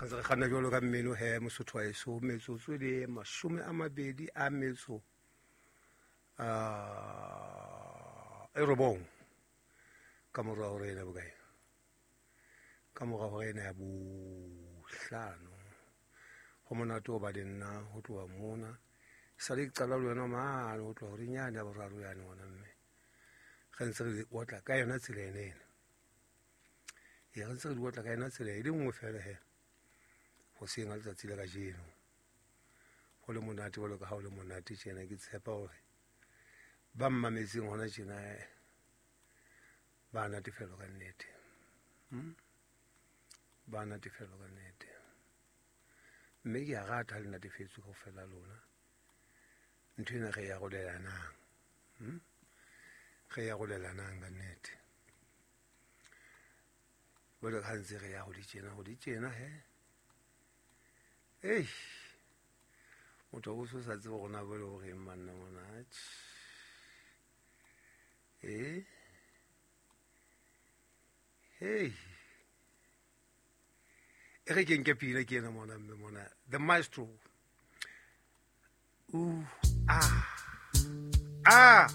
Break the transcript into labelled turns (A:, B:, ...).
A: Re ntse re kganna jwalo ka mmino he, Mosotho wa eso. Metsotso e le 28 a metso e 9 ka mora hora ena bokae, ka mora hora ena ya 5. Ho monate ho ba le nna ho tloha mona, sale ke qala le wena mane ho tloha horeng yane ya 3 yane ngwana mme. Re ntse re di otla ka yona tsela ena ena. E re ntse re di otla ka yona tsela e le nngwe fela he, hoseng ha letsatsi la kajeno. Ho le monate jwalo ka ha ho le monate tjena, ke tshepa hore ba mmametseng hona tjena ba natefelwa ka nnete. Ba natefelwa ka nnete. Mme ke a rata ha le natefetswe kaofela lona. Ntho ena re e arolelanang. Re e arolelanang ka nnete. Jwale ha ntse re ya ho di tjena, ho di tjena he. Eish. Motho o so sa tsebe hore na jwale o reng manna mona. Eh. Hey. E re ke nke pina ke ena mona mme mona. The Maestro. Ooh, ah. Ah.